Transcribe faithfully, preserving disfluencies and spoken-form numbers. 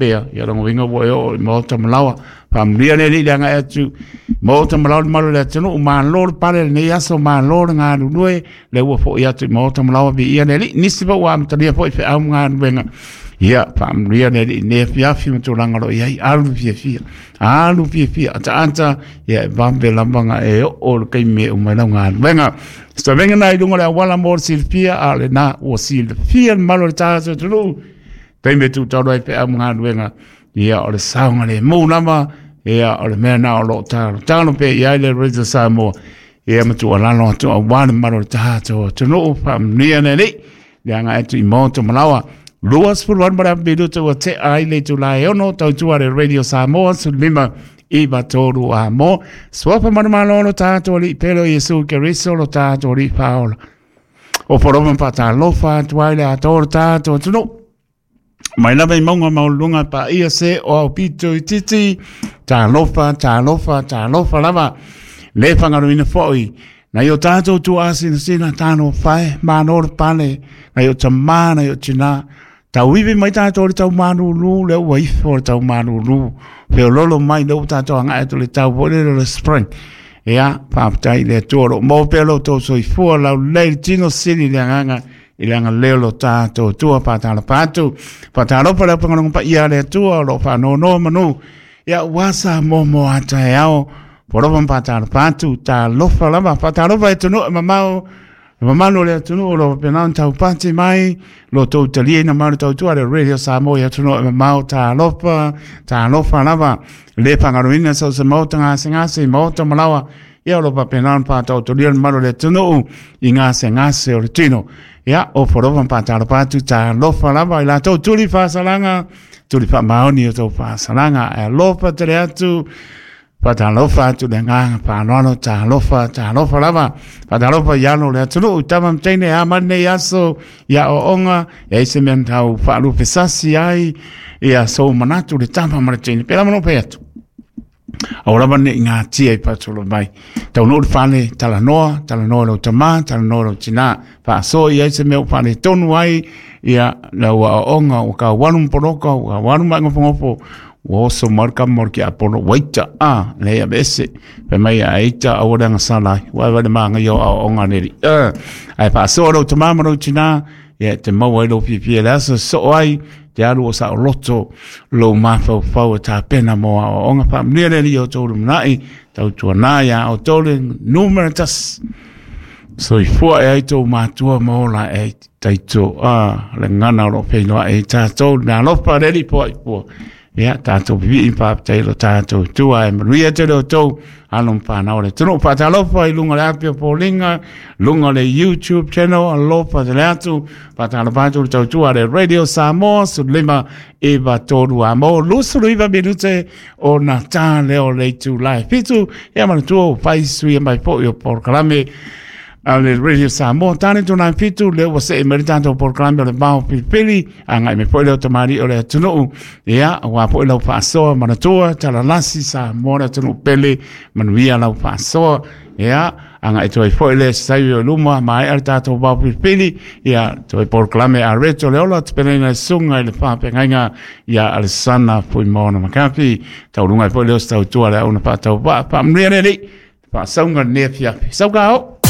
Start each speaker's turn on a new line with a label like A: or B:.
A: pea ia longa winga ua e o i maota malawa faamanuia le Alii le agai atu maota malawa le malu o le atunuu malo le pale lenei aso malo le galulue le ua fo'i atu i maota malawa viia le Alii nisi foi ua amatalia foi feau ma galuega ia faamanuia le Alii nei afiafi ma tulaga o lo o i ai alu fiafia alu fiafia ataata ia e vave lava ga e oo le taimi e uma ai lau galuega savega na i luga o le auala mo le silafia a o lena ua silafia le mamalu o le tatou atunuu taimi e tutalu ai feau ma galuega ia o le saogalemu lava ia o le mea na o lo o talotalo pea i ai le Radio Samoa ia ma tuualalo atu aua le mamalu o le tatou atunuu faamanuia le Alii le agai atu i maota malawa lua sefulu valu ma le afa minuta ua tea ai le itula e ono tautua le Radio Samoa sefulu lima iva tolu a mo suafa manumalo lo tatou Alii pele o Iesu Keriso lo tatou Alii faaola o foroma faatalofa atu ai le atoa o le tatou atunuu mai lava i mauga maualuluga paia se o aupito i titi talofa talofa talofa lava le fagaluina foi nai o tatou tuuasinasina talofa e malo le pale nai o tamā nai o tinā tauivi mai tatou le tau malūlū le ua ifo le tau malūlū feololo mai le ua tatou agai atu le tau foi lele o le spring ia faafetai i le Atua o loo maua pea lo outou soifua laulelei le tino sili le agaga i le agalelei o lo tatou Atua faatalofa atu faatalofa le aufaigaluega paia a le Atua o loo faanonoa manu ia ua Samoa mo a taeao polofa ma faatalofa atu talofa lava faatalofa e atunuu e mamao le mamalu o le atunuu o lo o faapena ona taupati mai lo outou taliaina mai o le tautua le Radio Samoa i atunuu e mamao talofa talofa lava le fagaluina so o se maota gasegase i maota malawa ia o lo o faapena ona faataotolia le mamalu o le atunuu i gasegase o le tino ia o folofa ma faatalofa atu talofa lava i latou tuli faasalaga tuli faamaoni o tou faasalaga ae alofa tele atu faatalofa atu le agaga faaaloalo talofa talofa lava faatalofa i alo o le atunuu tama ma teine a mai lenei aso ia aoaoga e ai se mea na tau faalupesasi ai ia sou manatu le tama ma le teine pēlā ma lou fai atu aua lava ne i gatia i faasolo mai taunuu le fale talanoa talanoa i lou tamā talanoa i lou tinā faasoa i ai se mea ua faaletonu ai ia lau aoaoga ua kaualu ma poloka ua kaualu ma gofogofo ua oso mai le kama o le kiapolo ua ita a leai aveese fai mai a ita aua le agasala ai ua vae le magaia o aoaoga a le alii ae faasoa lou tamā ma lou tinā ia e te maua ai lou fiafia i le aso e sosoo ai te alu o saoloto lou mafaufau e tapena mo aoaoga faamanuia le Alii o outou lumanai tautuanā iā outou le numera tasi soifua e ai tou matua ma ola e ai taito a le gana o loo feiloai ai tatou le meaalofa a le Alii poai pua ia tatou pipii ma faafetai lo tatou Atua e manuia tele outou alo ma fanau o le atunuu faatalofa i luga o le api o foliga luga o le YouTube channel alofa tele atu faatalofa atu le tautua a le Radio Samoa sefulu lima iva tolu a mo luasefulu iva minute ona ta lea o le itula e fitu ia manatua ua fai suia mai foi o polokalame a le Radio Samoa tane tuna fitu le ua see mai le tatou polokalame o le vao filifili agai mai foi leo tamalii o le atunuu ia aua foi lau faasoa manatua talalasi Samoa le atunuu pele manuia lau faasoa ia agai atu ai foi le saio i luma maea le tatou vao filifili ia toe polokalame a Reto le Ola tapenaina e susuga i le faafeagaiga ia Alesana Fuimaono Makafi tauluga ai foi leo se tautua le auna faatauvaa faamanuia le Alii faasauga lenei afiafi sauga o.